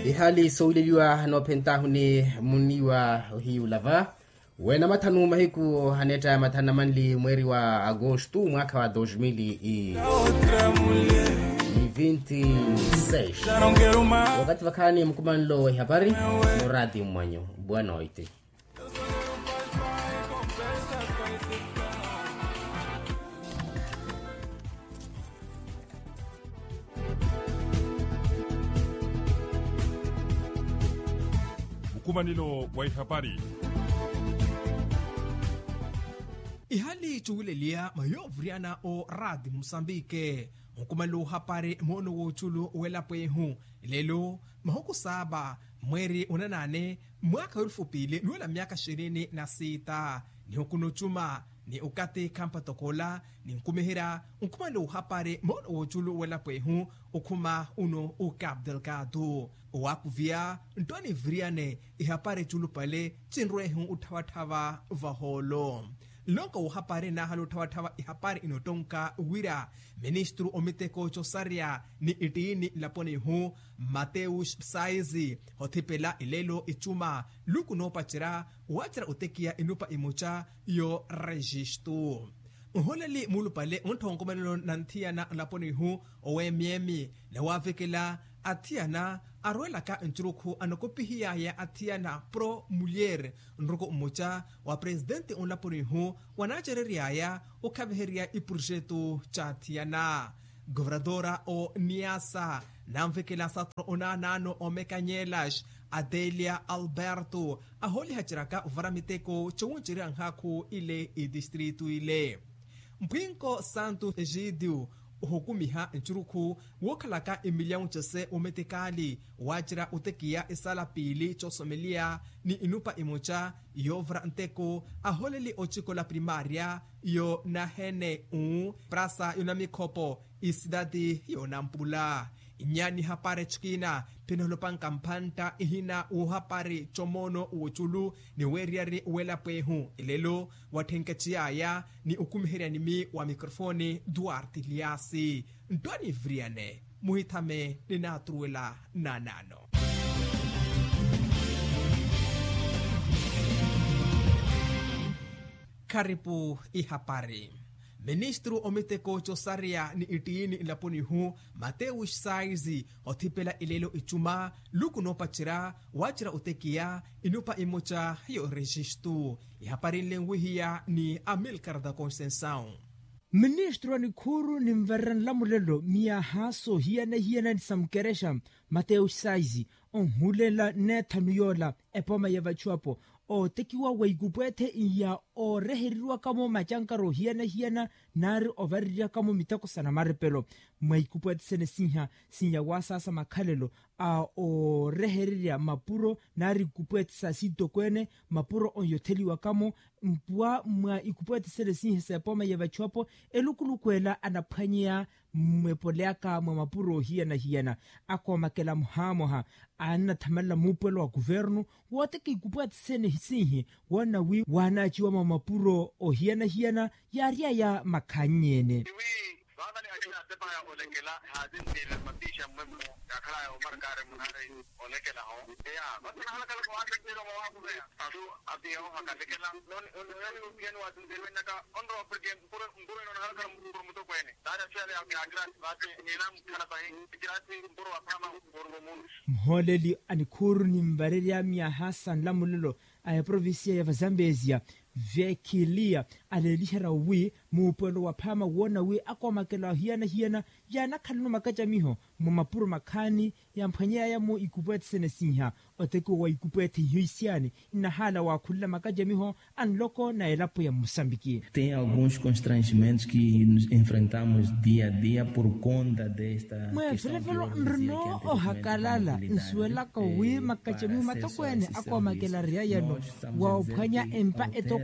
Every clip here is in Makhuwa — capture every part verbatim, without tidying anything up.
Ihali sowileliwa noophentahuni muniwa ohiyulava wena mathanu mahiku haneetta ya mathanu na manli mweeri wa agostu mwaakha wa dos mil e vinti seis. Wakati vakhaani mukumanlo wa ihapari muraati mmwanyu. Bwanoiti. Mukumanilo wa ihapari. Ihali cuwileliya mayoovuriyana o raati musambike. Mukumanilo wa ohapari moono wooculu welapo ehu. Lelo mahuku saaba mweeri onanaane mwaakha welufu piili nuwela myaakha ishirini na siita. Nihuku nocuma ni okati khampatokoola ninkumiherya nkhumelo ohapari moono wooculu welapo ehu. Okhuma uno okapdelkatu owakuviya nttwani viriyane ihapari culupale cinrwehu otthawatthawa vahoolo. Nlonko wohapari naahala otthawatthawa ihapari inottonka wira ministru omiteko cosareya ni ittiini nlaponi ihu mateus sais othipela elelo icuma luku noopacerya wacerya otekiya inupa imuca yo registu. Nholeli mulupale onttha onkomelelo na nthiyana nlaponi ihu oweemyeemi nawavekela athiyana arwelaka ncurukhu anokopihiyaya athiyana pro mulyer nruku mmuca wa presitenti onlaponi ihu wanaacereryaya okhaviherya ipurjetu ca athiyana. Governadora o niasa nanvekela satro onaanaano omekanyelas adelia alberto ahoolihaceryaka ovara miteko cowuncerya nhaakhu ile itistritu ile. Mpwinko santo egidio ohukumiha ncurukhu wookhalaka emilyawu case ometekaali waacerya otekiya esala piili coosomeliya ni inupa imoca yoovura nteko ahooleli ocikola primaria yo nahene u prasa yonamikhopo isidati yonampula. Inyaani hapari ecikina pinoholopanka mphantta ihina wohapari comoono woculu ni weeriyari welapo ehu elelo watthenkecy'aya ni okumiheryani-mi wa mikrofoni duarte liasi. Nttwani viriyane muhithame ninaaturuwela naanaano. Kharipu ihapari. Ministru omiteko cosareya ni ittiini nlaponi ihu mateus sais othipela elelo icuma luku noopacerya wacerya otekiya inupa imoca yo registu. Ihapari nlenwihiya ni amilcar da conceição. Ministru a nikhuuru ninvarera nlamulelo miyaaha soohiyana-hiyana ni sa mukerexa mateus sais onhulela nneethanu yoola epooma ya vachuwapo ootekiwa wa ikupweethe iya oorehereriwaka-mo macankara ohiyana-hiyana naari ovareryaka-mo miteko sa namarepelo mwa ikupweethe sene siiha siiya waasaasa makhalelo a oorehererya mapuro naari ikupweethe sa sitokweene mapuro onyotheliwaka-mo mpuwa mwa ikupweethe sene siiha s'epooma ya vachuwapo elukuluku ela anaphwanyeya mmwepoleyaka mwa mapuro ohiyana-hiyana akoomakela muhaamwaha annathamalela muupwelo wa kuvernu wooteka ikupweethe sene siihi woona wi waanaaciwa mwa mapuro ohiyana-hiyana yaary'aya makhannyene. Vavale akina atepa ya olekela haatintiile mapiixa mmwemmo yaakhalaya omarkari munaari olekelaho eya vasi nahalakala ko aatintiile omawakuveya asu apiya ohakalekela noni ononi opiyani waatintiile wenaka onrowa porke mpuro mpuro ino nahalakala mpuro mutokweene taari asiyale yaakirasi vasi nina mukhala pahi ekirasi mpuro wa phama mpuro mumunu. Muhooleli a nikhuuru ninvarerya myaha sa nlamulelo a eprovincia ya vazambezia vekilia aleeliherya wi muupwelo wa phaama woona wi akoomakela ohiyana-hiyana yaanakhalano makacamiho mwa mapuro makhaani yamphwanyeyaya-mo ikupweethe sene siiha otekiwa wa ikupweethe iho isiyaani nnahaala waakhulela makacamiho a nloko na elapo ya mmusambiki. Tem alguns constrangimentos que nos enfrentamos dia a dia por conta desta mweevelevelo nrino ohakalala nsuwelaka wi makacamiho matokweene akoomakela riyayano wa ophwanya empa etokweene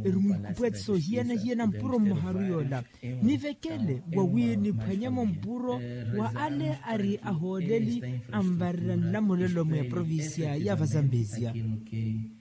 eri mwiikupweetisa ohiyana-hiyana mpuro mmoharu yoola nivekele wa wi niphwanyemo mpuro wa ale ari ahooleli anvarira nlamulelo mwa eprovincia ya vazambezia.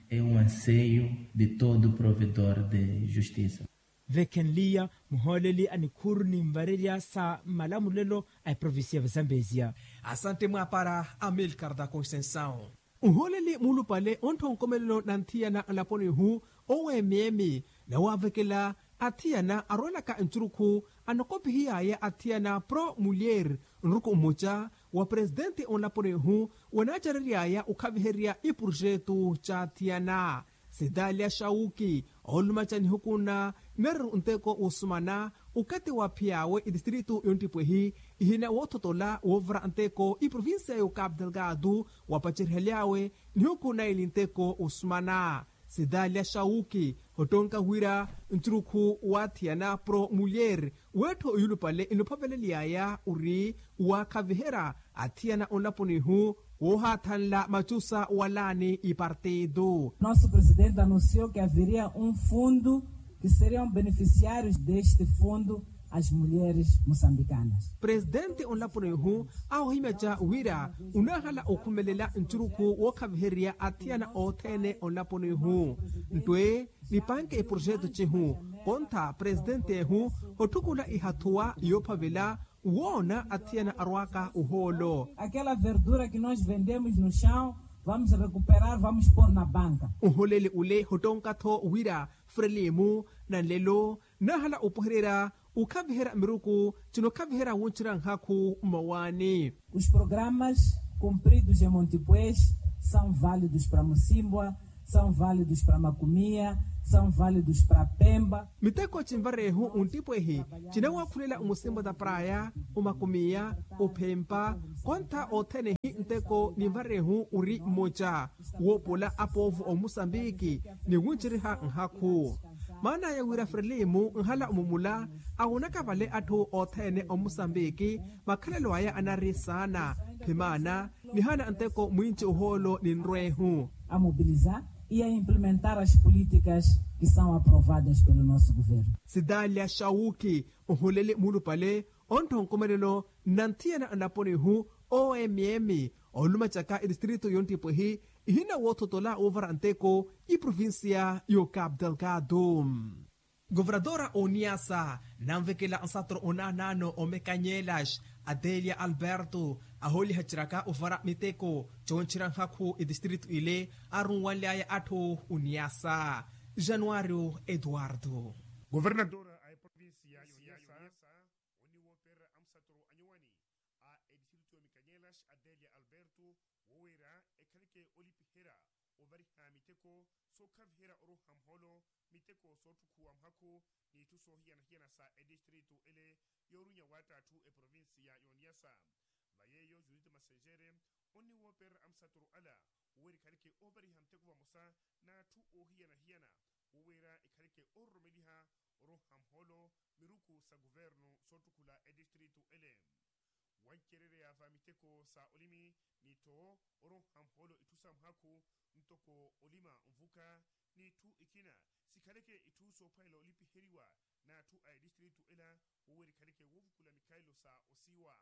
É um anseio de todo provedor de justiça. Vekhenliya muhooleli a nikhuru ni nvarerya sa malamulelo a eprovincia ya vazambezia. Asante mwaapara amilcar da constensao. Nhooleli muulupale onttha onkomelelo na nthiyana nlaponi-hu owo emeemi nawaavekela athiyana arwelaka ncurukhu anokopihiyaya athiyana pro mulher nruku mmoca wa presitenti onlaponi-hu wanaacereryaya okhaviherya iprojetu c'athiyana. Sitalia shauki ooluma ca nihuku na nereru nteko woosumana okathi waaphiyaawe etistritu yonttipwehi ihina woothotola woovara nteko iprovincia y'okapu delgado wapacerihelyaawe nihuku naili nteko woosumana. Sitalia shauki ottonka wira ncurukhu waathiyana pro mulher weettho iyulupale enophaveleliyaya ori waakhaviherya athiyana onlaponi-hu woohaathanla macusa walaani ipartido. Nosso presidente anunciou que haveria um fundo que seriam beneficiários deste fundo as mulheres moçambicanas. Presitenti onlaponi-hu aahihimya ca wira onaahala okhumelela ncurukhu wookhaviherya athiyana othene onlaponi-hu nttwe nipanke eprojetu cihu. Kontha presitenti ehu otthukula ihathuwa yoophavela woona athiyana arwaaka ohoolo. Aquela verdura que nós vendemos no chão vamos recuperar vamos pôr na banca. Oholeli ole hottonka-tho wira frelimu na nlelo naahala opwehererya okhaviherya miruku cinokhaviherya wuncira nhakhu mmawaani. Os programas cumpridos em montipues são válidos para musimbwa, são válidos para makumia, são válidos para pemba. Miteko cinvarehu ontipwehi cinawakhulela omusimbwa da praya, omakumia, ophempa, kontha othene hi nteko ninvarehu ori mmoca woopola apoovo omusambiki ni wunceriha nhakhu. Maanaya wira frelimu nhala omumula awonaka vale atthu othene omusambiki makhalelo aya anari saana. Phimaana nihana nteko mwinci ohoolo ninrwehu. A mobilizar e a implementar as políticas que são aprovadas pelo nosso governo. Sitalia shauki oholeli muulupale onttha onkomelelo na nthiyana nlaponi-hu omm oolumacaka etistritu yonttipwehi ihina woothotola woovara nteko iprovincia y'okapu delgado. Governadora oniyasa nanvekela nsatoro onaanaano omekanyelas adelia alberto ahooliha ciraka ovara miteko coonchira nhakhu etistritu ile arunwanlyaya atthu oniyasa. Januario eduardo. Governadora a eprovincia yoniyasa oniwoopererya amusatoro anyuwani a etistritu y'omekanyelas adelia alberto wowira ekhaleke olipiherya ovariha miteko sookhaviherya oroha muholo miteko sootthukuwa muhakhu n'itthu soohiyana-hiyana sa etistritu ele yoorunya waatta atthu eprovincia y'oniyasa. Va yeeyo judith massenjere onniwoopererya amusatoro ala wowira ekhaleke oovariha miteko vamosa n'atthu oohiyana-hiyana wowira ekhaleke oororomeliha oroha muholo miruku sa kuvernu soottukhula etistritu ele. Wancerereya va miteko sa olimi ni tho oroha muhoolo itthu sa muhakhu ntoko olima nvuka n'itthu ikina sikhaleke itthu soophwanela olipiheriwa n'atthu a etistritu ela wowerikhaleke woovukula mikhalelo sa osiiwa.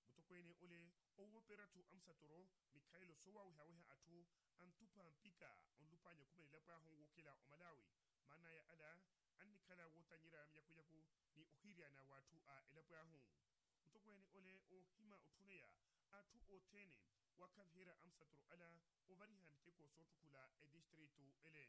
Mutokweene ole owooperera-tho amusatoro mikhalelo soowawehaweha atthu antupha mpikha onlupaanya okhumelela elapo ahu wookela omalawi maana aya ala annikhala wootanyerya miyakunyaku ni ohiryana w'atthu a elapo ahu. Mutokweene ole oohima otthuneya atthu othene waakhaviherya amusatoro ala ovariha miteko soottukhula etistritu ele.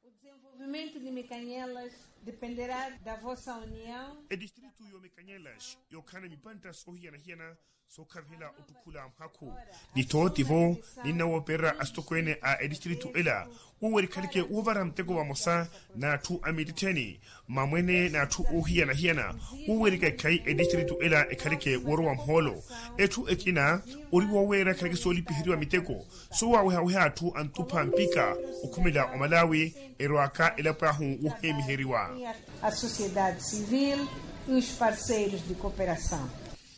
O desenvolvimento de mekanyelas dependerá da vossa união. Etistritu y'omekanyelas yookhala ni mipantta soohiyana-hiyana sookhavihela ottukhula muhakhu ni tho tivo ninnawoperera asitokweene a etistritu ela wowerikhaleke woovara muteko vamosa n'atthu a mitittheni mmamwene n'atthu oohiyana-hiyana wowerika ekhayi etistritu ela ekhaleke woorowa muhoolo. Etthu ekina ori woweera ekhaleke soolipiheriwa miteko soowawehaweha atthu antupha mpikha okhumela omalawi erwaaka elapo ahu woheemiheriwa. A sociedade civil e os parceiros de cooperação.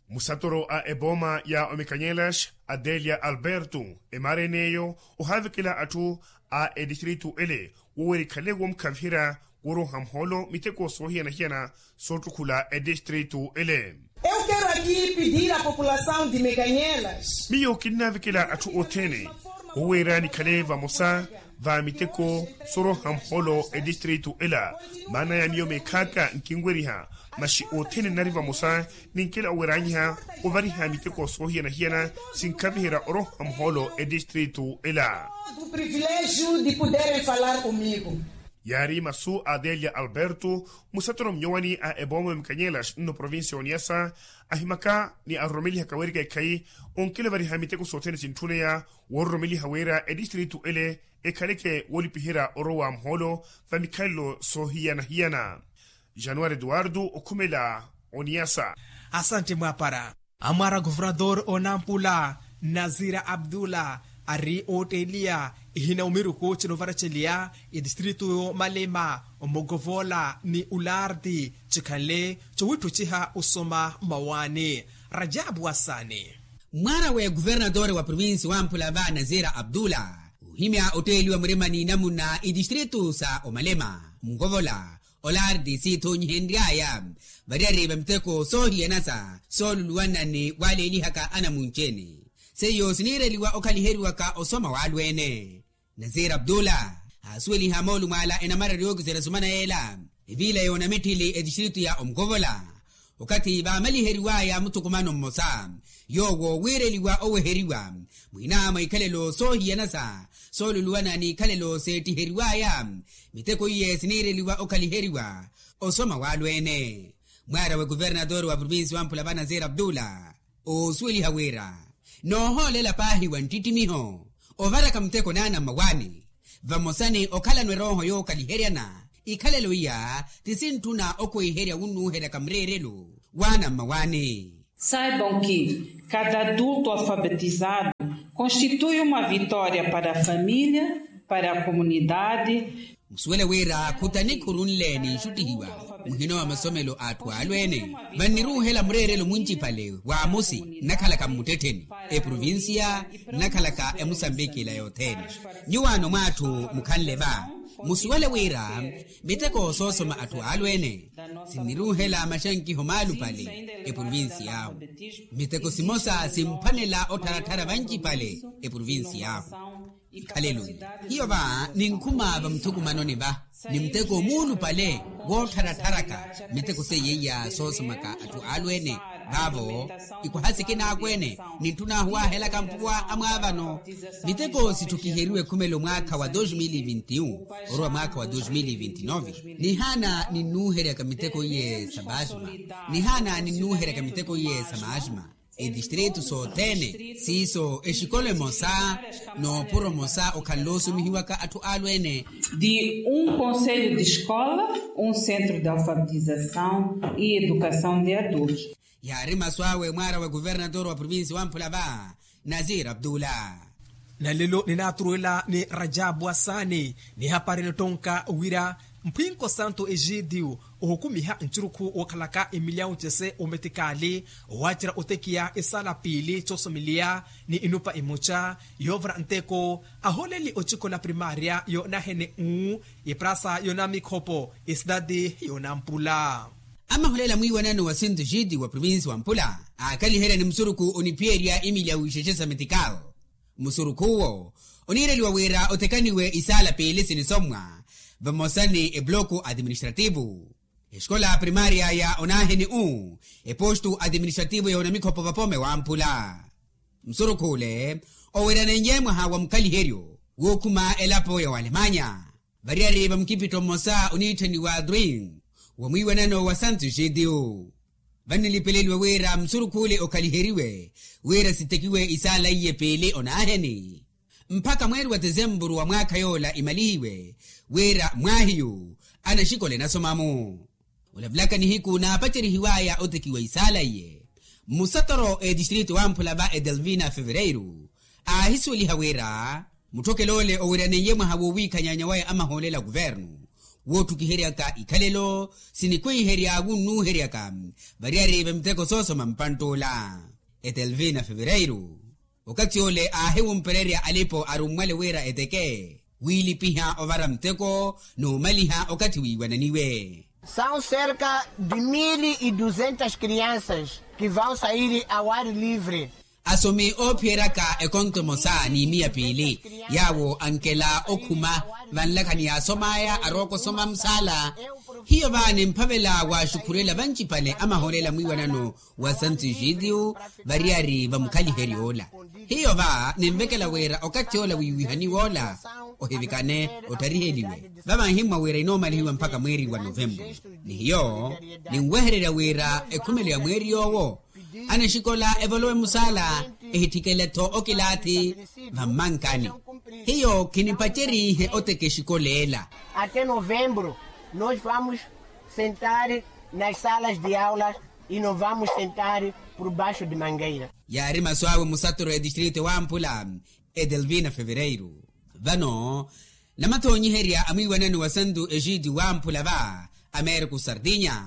Musatoro a ebooma ya omekanyelas adelia alberto emaara en'eyo ohaavekela atthu a etistritu ele wowerikhaleke woomukhaviherya wooroha muhoolo miteko soohiyana-hiyana soottukhula etistritu ele. Eu quero aqui pedir à população de mekanyelas. Miyo kinnaavekela atthu othene woweera nikhale vamosa va miteko sooroha muhoolo etistritu ela. Maana ya miyo meekhaaka nkinweriha, maxi othene nnari vamosa ninkela oweranyiha ovariha miteko soohiyana-hiyana sinkhaviherya oroha muhoolo etistritu ela. Privilegiu de poderem falar comigo. Yaari masu a adelia alberto, musatoro mnyowani a eboome mkanyelas nno provincia ya oniasa, ahimaka ni aroromelihaka weerika ekhayi onkela ovariha miteko sothene sintthuneya woororomeliha wira etistritu ele ekhaleke woolipiherya orowa muhoolo va mikhalelo soohiyana-hiyana. Januari eduwardo okhumela oniasa. Asantte mwaapara. Amwaara governador onampula nazira abdullah ari ootteeliya ihina omiruku cinovaraceliya etistritu y'omalema, omogovola ni ularti cikhanle cowitthuciha osoma mawaani. Rajabu wasaani. Mwaara w'eguvernatori wa provinsi wamphula va nazira abdullah ohimya otteeliwa murima ni namuna itistritu sa omalema, nkovola, olarti siithonyihenry'aya variyari va miteko soohiyanasa sooluluwana ni waaleelihaka anamunci-ene, seiyo siniireliwa okhaliheriwaka osoma w'alweene. Nasir abdullah aasuweliha moolumo ala enamarari yookiserya sumana yeela, eviila yoonamitthili etistritu ya omukovola, okathi vaamaliheriwaya muthukumano mmosa yoowo wiireliwa oweheriwa mwiina mwa ikhalelo soohiyana sa sooluluwana n'ikhalelo seettiheriwaya, miteko iye siniireliwa okhaliheriwa osoma w'alweene. Mwaara w'ekuvernatori wa provinsi wamphula va nasir abdullah oosuweliha wira noohoolela paahi wa nttittimiho ovaraka muteko naana mmawaani, vamosa ni okhalano erooho yookhaliheryana ikhalelo iya ti sintthuna okwiherya wunnuuheryaka mureerelo waana mmawaani. Saibam ki kada adulto alfabetizado konstitui uma vitoria para a familia, para a komunidade. Musuwele wira khutanikhuru nle ninxuttihiwa muhina wa masomelo a atthu alweene, vanniruuhela mureerelo muncipale wa amosi nnakhalaka mmuttettheni eprovinsiya nnakhalaka emusambiki ila yothene. Nyuwaano mwa atthu mukhanle va musuwele wira miteko soosoma atthu alweene sinniruuhela maxankiho maalupale eprovinsiy'ahu. Miteko simosa simphwanela ottharatthara vancipale eprovinsiy'ahu. Ikhalelo hiyo va ninkhuma vamuthukumanoni va ni muteko muulupale woottharatharaka miteko seiya iya soosomaka atthu alweene. Vaavo ikwaha sikina akweene nintthun'ahu waahelaka mpuwa amwaavano. Miteko sitthukiheriwe khumela omwaakha wa dos mil e vinti un orowa mwaakha wa dos mil e vinti nove nihaana ninnuuheryaka miteko iye sa maasima. Nihaana ninnuuheryaka miteko iye sa maasima etistritu sothene siiso exikolo emosa noopuro mosa okhanle osumihiwaka atthu alweene. De um conselho de escola, um centro de alfabetização e educação de adultos. Yaari masu awe mwaara wa kuvernator wa provinsi wamphula va nasir abdullah. Na lelo ninaaturuwela ni rajabu wasaani ni hapari nittonka wira mphwinko santo egidio ohukumiha ncurukhu wookhalaka emilyawu cese ometikaali owaacerya otekiya esaala piili coosomeliya ni inupa emoca yoovara nteko ahooleli ocikola primaria yoonahene u eprasa yoonamikhopo esidadi yoonampula. Amaholela mwiiwanano wa sinto xiti wa provinsi wa mpula aakhaliherya ni musurukhu oniphiyerya imilyawu ixexe sa metikal. Musurukhu uwo oniireliwa wira othekaniwe isaala piili sinisommwa vamosa ni ebuloko administrativu exikola primaria ya onaheni u epostu administrativu ya onamikhopo vapome wamphula. Musurukhu ule oweranenye mwaha wa mukhaliheryo wookhuma elapo ya walemanya variyari va mukipitto mmosa oniitthaniwa dring wa mwiiwanano wa santu xitiyu. Vannilipeleliwe wira musurukhu ule okhaliheriwe wira sitekiwe isaala iye piili onaheni mpakha mweeri wa tesempuru wa mwaakha yoola imalihiwe wira mwaahiyu anaxikola enasoma-mu. Olavulaka nihiku naapacerihiwaya otekiwa isaala iye musatoro etistritu wamphula va edelvina fevereiru aahisuweliha wira mutthokele ole oweraneiye mwaha wowiikhanyanya waya amahoolela kuvernu woottukiheryaka ikhalelo sinikwiherya wunnuuheryaka variyari va miteko soosoma mpantt'ula. Etelvina fevereiru okathi ole aahiwumpererya alipo arummwale wira eteke wiilipiha ovara muteko n'umaliha okathi wiiwananiwe. São cerca de mil e duzentas crianças que vão sair ao ar livre. Asomi oophiyeryaka ekonto emosa ni miya piili, yaawo ankela okhuma vanlakhani yaasom'aya arooko osoma musaala. Hiyo va nimphavela waxukhurela vancipale amahoolela mwiiwanano wa santu egídio variyari va mukhaliheryo ola. Hiyo va ninvekela wira okathi ola wiiwihaniwa ola ohivikane ottariheliwe. Vava nhimmwa wira inoomalihiwa mpakha mweeri wa novemburu. Ni hiyo ninwehererya wira ekhumelo ya mweeri yoowo anexikola evolowe musaala, ehitthikela-tho okilaathi vammankani. Hiyo khinipacerihe oteka exikola ela. Até novembro nós vamos sentar nas salas de aulas e não vamos sentar por baixo de mangueira. Yaari masu awe musatoro ya distrito ewamphula edelvina fevereiru. Vano namathonyiherya a mwiiwanano wa santu egídio wamphula va americo sardinya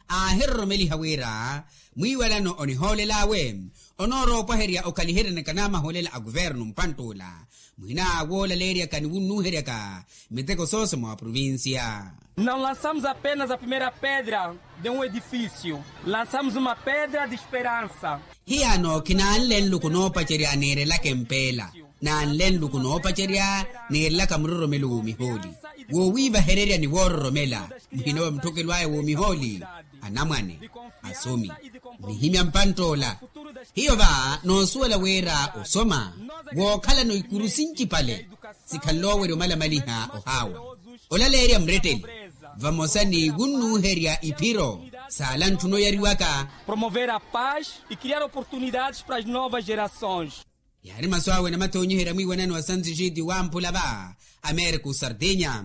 aahiroromeliha wira mwiiwanano onihoolel'awe onooroopwaherya okhaliheryana kanamahoolela a kuvernu mpantt'ula muhina woolaleeryaka ni wunnuuheryaka miteko soosa mwa provincia. Não lançamos apenas a primeira pedra de um edifício, lançamos uma pedra de esperança. Hiyaano khinanle nluku noopacerya niirelaka empeela, nanle nluku noopacerya niirelaka muroromelo w'omihooli. Woowiivahererya ni woororomela muhina wa mutthokelo aya w'omihooli, anamwane, asomi, nihimya mpantt'ola. Hiyo va noosuwela wira osoma wookhalano ikuru sincipale sikhanle owerya omalamaliha ohaawa, olaleerya muretteli vamosa ni wunnuuherya iphiro saala ntthuna oyariwaka. Promover a paz e criar oportunidades para as novas gerações. Yaari masu awe namathonyiherya mwiiwanano wa santu egídio wamphula va americo sardinya,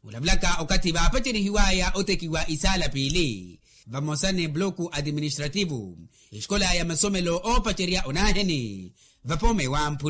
olavulaka okathi vaapacerihiw'aya otekiwa isaala piili vamosa ni bloku administrativo, exikola ya masomelo oopacerya onaaheni vapooma ewamphula.